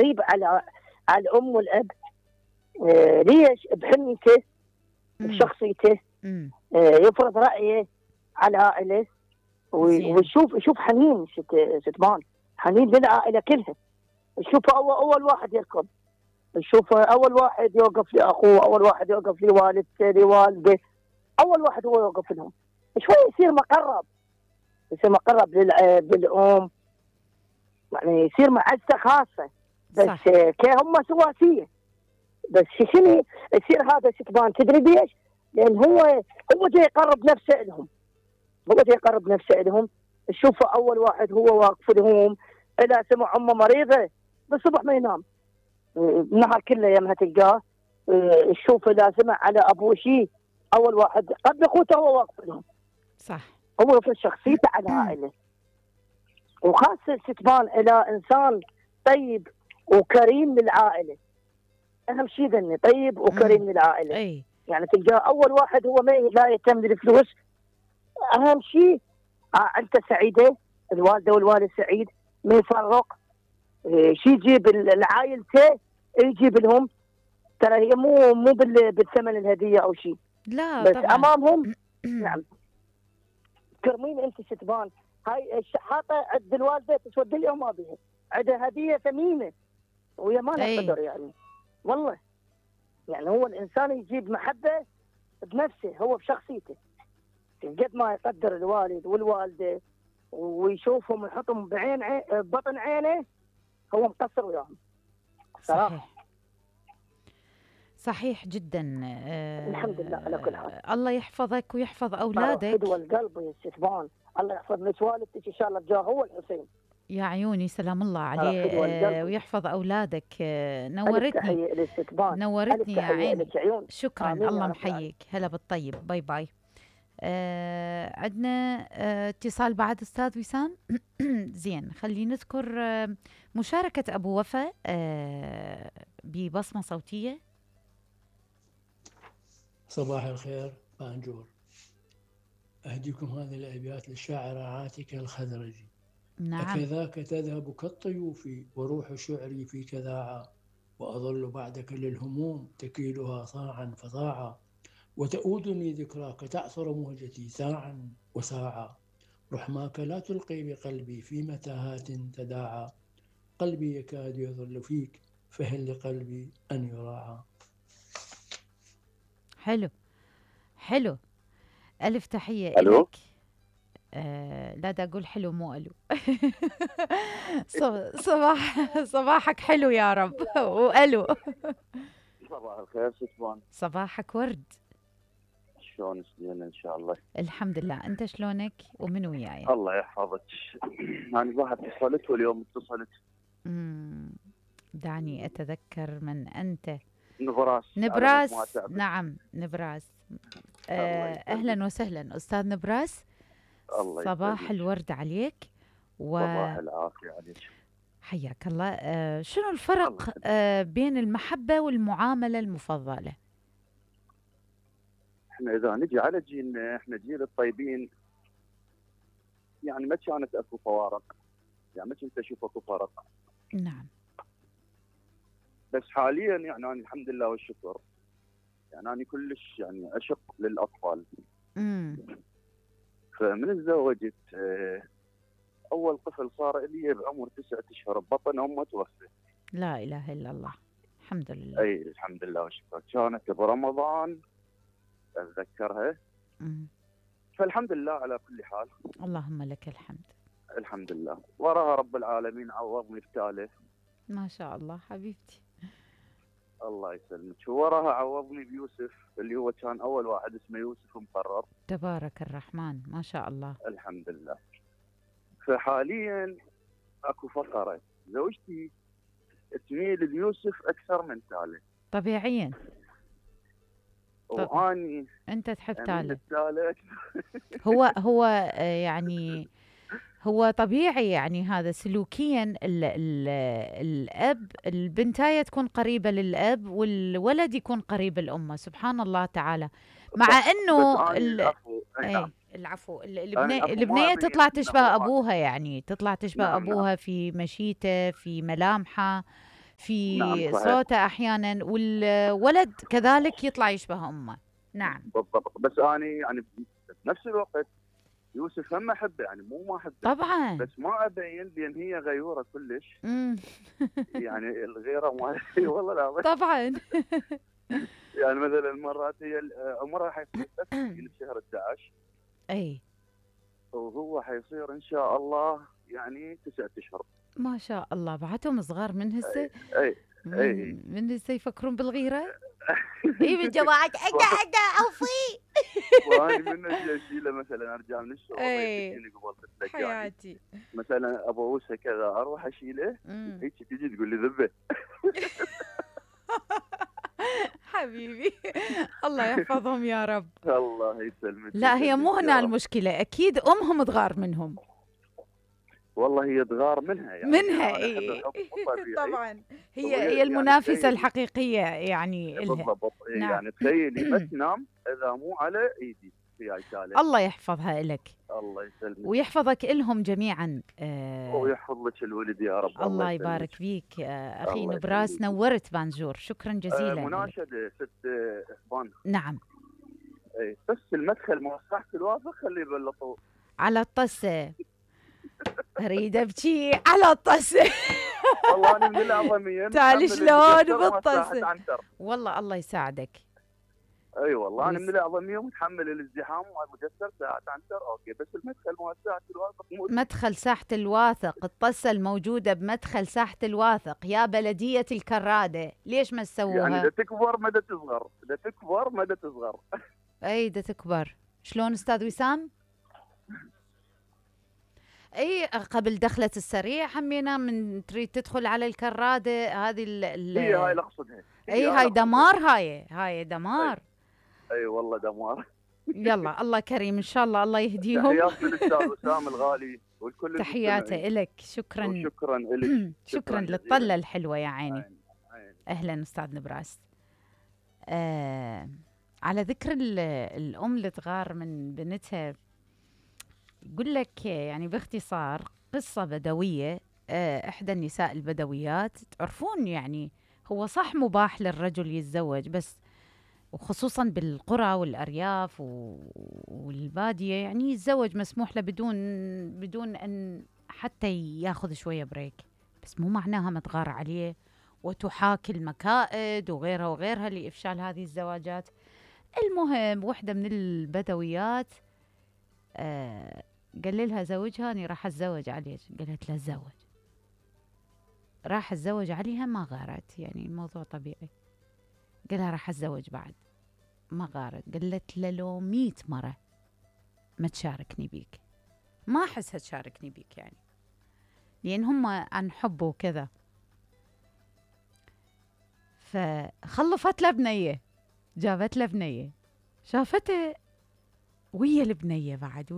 قريب على الام والاب. ليش؟ بحنيته، بشخصيته، يفرض رايه على العائله، ويشوف حنين ستبان، حنين للعائله كلها. يشوفه اول واحد يركض، يشوفه اول واحد يوقف لاخوه، اول واحد يوقف لوالدته لوالده، اول واحد هو يوقف لهم. شوي يصير مقرب للاب للام، يعني يصير معزه خاصه. بس كهم سواسيه. بس شنو يصير هذا ستبان؟ تدري ليش؟ لان هو جاي يقرب نفسه لهم، تشوفه اول واحد هو واقف لهم. اذا سمع امه مريضه بالصبح ما ينام، النهار كله يمها تلقاه. تشوف اذا سمع على ابوه شيء، اول واحد قبل اخوته هو واقف لهم. صح. هو في شخصيته على العائله، وخاصه ستبان الى انسان طيب وكريم للعائله. اهم شيء ذني طيب وكريم للعائله. يعني تلقاه اول واحد هو لا يهتم بالفلوس. اهم شيء عيلته سعيده، الوالده والوالد سعيد، ما يفرق. شيء يجيب لعائلته يجيب لهم. ترى هي مو بالثمن الهديه او شيء، لا بس طبعا. امامهم نعم كرمين. انت ستبان هاي الشحاطه عند الوالده تسود اليوم ما بيها، عندها هديه ثمينه وهي ما لها قدر. يعني والله يعني هو الانسان يجيب محبه بنفسه، هو بشخصيته. قد ما يقدر الوالد والوالده ويشوفهم ويحطهم بطن عينه، هو مقصر وياهم صراحه. صحيح جدا. الحمد لله على كل حال. الله يحفظك ويحفظ اولادك. فدوى القلب يا ستبان، الله يحفظ لك والدتك ان شاء الله بجاه هو الحسين. يا عيوني سلام الله عليه. ويحفظ اولادك. نورتني يا عيني. شكرا. الله محييك. هلا بالطيب. باي باي. عندنا اتصال بعد استاذ وسام. زين، خلينا نذكر مشاركة ابو وفاء ببصمة صوتية. صباح الخير بانجور. اهديكم هذه الابيات للشاعرة عاتكة الخزرجي. نعم. أكذاك تذهب كالطيوف وروح شعري فيك ذاعا، وأظل بعدك للهموم تكيلها صاعا فصاعا، وتؤودني ذكراك تعثر موجتي ساعا وساعا، رحماك لا تلقي بقلبي في متاهات تداعى، قلبي يكاد يظل فيك فهل لقلبي أن يراعى. حلو. ألف تحية لك. لا دا أقول حلو مو ألو. صباحك حلو يا رب. وألو. صباح الخير ستبان. صباحك ورد. شلونك؟ زين ان شاء الله. الحمد لله. انت شلونك ومن وياي؟ الله يحفظك. انا واحد اتصلت واليوم اتصلت. دعني اتذكر من انت. نبراس. نعم نبراس. اهلا وسهلا استاذ نبراس. صباح الورد عليك. صباح العافيه عليك. حياك الله. شنو الفرق بين المحبه والمعامله المفضله؟ احنا اذا نجي على جيلنا، احنا جيل الطيبين، يعني ما كانت اكو فوارق، يعني ما كنت اشوف اكو فرق. نعم. بس حاليا يعني أنا الحمد لله والشكر، يعني أنا كلش يعني أشق للأطفال. فمن تزوجت أول طفل صار لي بعمر 9 أشهر ببطن أمه توفى. لا إله إلا الله. الحمد لله. أي الحمد لله والشكر. كانت برمضان أتذكرها. فالحمد لله على كل حال. اللهم لك الحمد. الحمد لله. وراها رب العالمين عوضني بثالث. ما شاء الله حبيبتي. الله يسلمك. وراها عوضني بيوسف اللي هو كان أول واحد اسمه يوسف مقرر. تبارك الرحمن ما شاء الله. الحمد لله. فحاليا اكو فقرة، زوجتي تميل ليوسف أكثر من تالي. طبيعيا. وأني أنت تحب تالي. هو يعني هو طبيعي، يعني هذا سلوكيا الأب البنتاية تكون قريبة للأب والولد يكون قريب الأم. سبحان الله تعالى. مع أنه العفو البنية تطلع تشبه أبوها، يعني تطلع تشبه أبوها في مشيته، في ملامحه، في نعم صوته أحيانا، والولد كذلك يطلع يشبه أمه. نعم بالضبط. بس أنا يعني بنفس الوقت يوسف هم أحبه، يعني مو ما أحبه طبعا، بس ما أبين لأن هي غيورة كلش. يعني الغيرة مالتي والله العظيم. طبعا. يعني مثلا مرات هي عمرها حيصير بس بشهر 11 اي، وهو حيصير ان شاء الله يعني 9 اشهر. ما شاء الله، بعدهم صغار من هسه. اي من هسه يفكرون بالغيره. اي من جماعه اجا اوفي. وانا من اجي اشيله مثلا ارجع من الشغل يجيني قبل تتلقاني حياتي، مثلا ابوسه كذا اروح اشيله هيك تجي تقول لي ذبه. حبيبي الله يحفظهم يا رب. الله يسلمك. لا هي مو هنا المشكله، اكيد امهم تغار منهم. والله هي تغار منها يعني منها اي طبعا، هي المنافسه يعني الحقيقيه يعني لها. بالضبط. نعم. يعني تخيلي ما تنام اذا مو على ايدي هي شاله. الله يحفظها لك. الله يسلمك ويحفظك إلهم جميعا. ويحفظ لك الولد يا رب. الله يبارك فيك أخي نبراس، نورت بانجور، شكرا جزيلا. مناشدة ست إخوان. نعم. بس المدخل موسعة الواثق خليه يبلطوا على الطسة. أريد أبكي على الطسة. والله أنا من الأعظمية. تعال شلون بالطسة. والله الله يساعدك. اي والله انا من الاعظميه ومتحمل الازدحام ومقصر ساعات عنتر اوكي، بس المدخل مو ساحه الواثق مدخل ساحه الواثق، الطسه الموجوده بمدخل ساحه الواثق يا بلديه الكراده، ليش ما تسووها؟ يعني دا تكبر مدى تصغر، دا تكبر مدى تصغر. اي دا تكبر. شلون استاذ وسام؟ اي قبل دخلة السريع همينا من تريد تدخل على الكراده هذه هي هاي اللي اقصدها. اي هاي دمار، هاي دمار. اي والله دمار. يلا الله كريم ان شاء الله، الله يهديهم. تحياتي للاستاذ وسام الغالي والكل. تحياته لك. شكرا. شكرا لك. شكرا للطله الحلوه يا عيني. اهلا استاذ نبراس. على ذكر الام اللي تغار من بنتها، يقول لك يعني باختصار قصه بدويه. احدى النساء البدويات، تعرفون يعني هو صح مباح للرجل يتزوج، بس وخصوصا بالقرى والأرياف والبادية يعني يتزوج مسموح له بدون أن حتى ياخذ شوية بريك، بس مو معناها ما تغار عليه وتحاكي المكائد وغيرها لإفشال هذه الزواجات. المهم وحدة من البدويات قال لها زوجها أنا راح أتزوج عليك، قالت له تزوج. راح أتزوج عليها ما غارت، يعني الموضوع طبيعي. قالها راح أتزوج بعد، ما غارت. قالت له لو 100 مرة ما تشاركني بيك، ما أحسها تشاركني بيك يعني، لأن هم عن حب وكذا. فخلفت له بنية، جابت له بنية، شافته ويا البنية بعد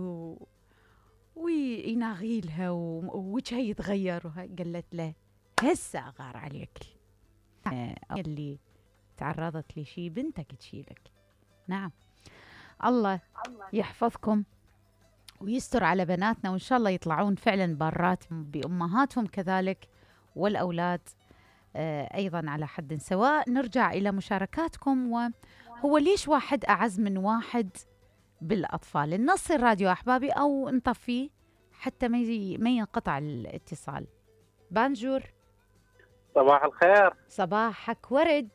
ويناغيلها ووجهها يتغير قالت له هسه أغار عليك، اللي تعرضت لشي بنتك تشيلك. نعم. الله يحفظكم ويستر على بناتنا، وإن شاء الله يطلعون فعلا بارات بأمهاتهم كذلك، والأولاد أيضا على حد سواء. نرجع إلى مشاركاتكم. وهو ليش واحد أعز من واحد بالأطفال؟ النص الراديو أحبابي أو نطفيه حتى ما ينقطع الاتصال. بانجور. صباح الخير. صباحك ورد.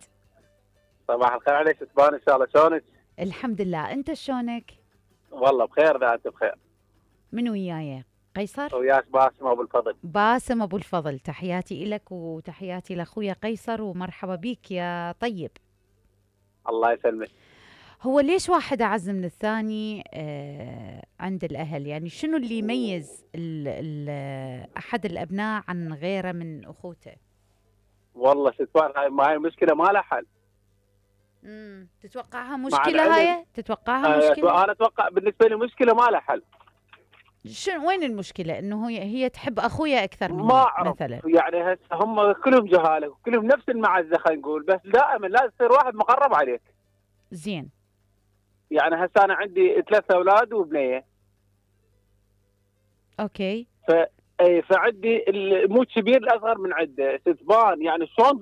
صباح الخير عليك ستبان ان شاء الله. شلونك؟ الحمد لله، انت شلونك؟ والله بخير. ذا انت بخير؟ من وياي؟ قيصر؟ وياك باسم ابو الفضل. باسم ابو الفضل، تحياتي لك وتحياتي لاخويا قيصر، ومرحبا بيك يا طيب. الله يسلمك. هو ليش واحد اعز من الثاني عند الاهل؟ يعني شنو اللي يميز احد الابناء عن غيره من اخوته؟ والله ستبان هاي مشكله ما لها حل. تتوقعها مشكله هاي؟ تتوقعها مشكله؟ انا اتوقع بالنسبه لي مشكله ما لها حل. شنو وين المشكله؟ انه هي تحب اخويا اكثر مني ما أعرف مثلا. يعني هسه هم كلهم جهاله وكلهم نفس المعزه خلينا نقول، بس دائما لازم يصير واحد مقرب عليك. زين. يعني هسه انا عندي 3 اولاد وبنيه. اوكي. اي فعندي مو كبير الاصغر من عنده ستبان، يعني شلون